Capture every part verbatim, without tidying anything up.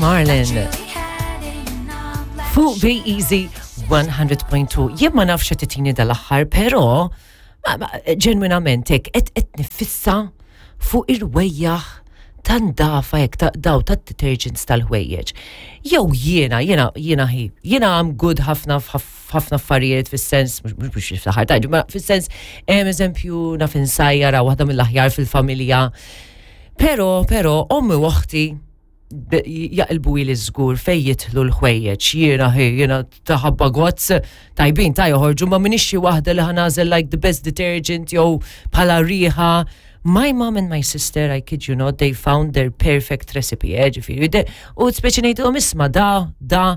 Marlin. Fuq Be Easy one hundred point two. Jien ma nafx titini dal-aħħar, però ġenwinament hekk qed qed nifissa fuq ir-rwejjaħ tan-dafa jekk ta' daw ta' detergents tal-ħwejjeġ. Jew jiena, jiena, jiena hi, jiena I'm good ħafna f'ħafna affarijiet fis-sens, mhux biex niftaħar tajġu, ma fis-sens, eżempju, naf insajjara, waħda mill-aħjar fil-familja. Pero, pero, ommi u oħti jaqilbu li żgur fej jidħlu l-ħwejjeġ. Jiena hi, jiena taħabba gozz tajbin ta' joħorġu, ma minix xi waħda li ħa nagħżel like the best detergent jew bħala riħa. My mom and my sister, I kid you not, they found their perfect recipe, eh, ġifieri. U speċi ngħidilhom, "Isma', da, da,"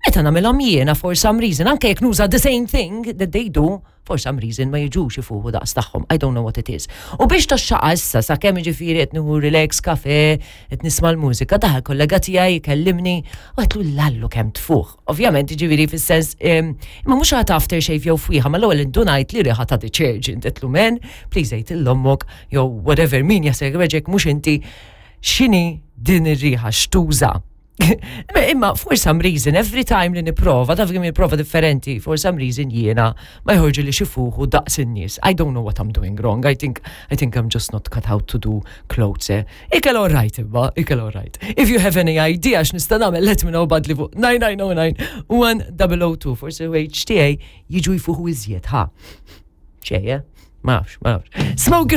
meta nagħmilhom jiena, for some reason, anke jekk nuża the same thing that they do, for some reason ma jiġux ifuħu daqs tagħhom. I don't know what it is. U biex taxxaqa issa, sa kemm ġifieri qed nieħu relax kafe, qed nisma' l-mużika, daħal kollega tiegħi jkellimni u għedtlu, "Lallu kemm tfuħ." Ovvjament ġifieri fis-sens imma mhux għad aftershave jew fwieħa, ma l-ewwel indunajt li riħa ta' detergent. Għedtlu, "Man, please għid 'l ommok jew whatever min jasek mhux inti x'inhi din ir-riħa x'tuża." Imma for some reason, every time li niprova, taf kemm nipprova differenti, for some reason jiena ma jħorġu li xifuħu daqs in-nies. I don't know what I'm doing wrong. I think I think I'm just not cut out to do clothes. Eh? Ikel all right, imma, ikel all right. If you have any idea x'nista' nagħmel, let me know, badli fuq nine nine oh nine one oh oh two. Forsi H T A jiġu jfuħu iżjed, ha. Ċeje? Ma nafx, ma nafx. Smoke.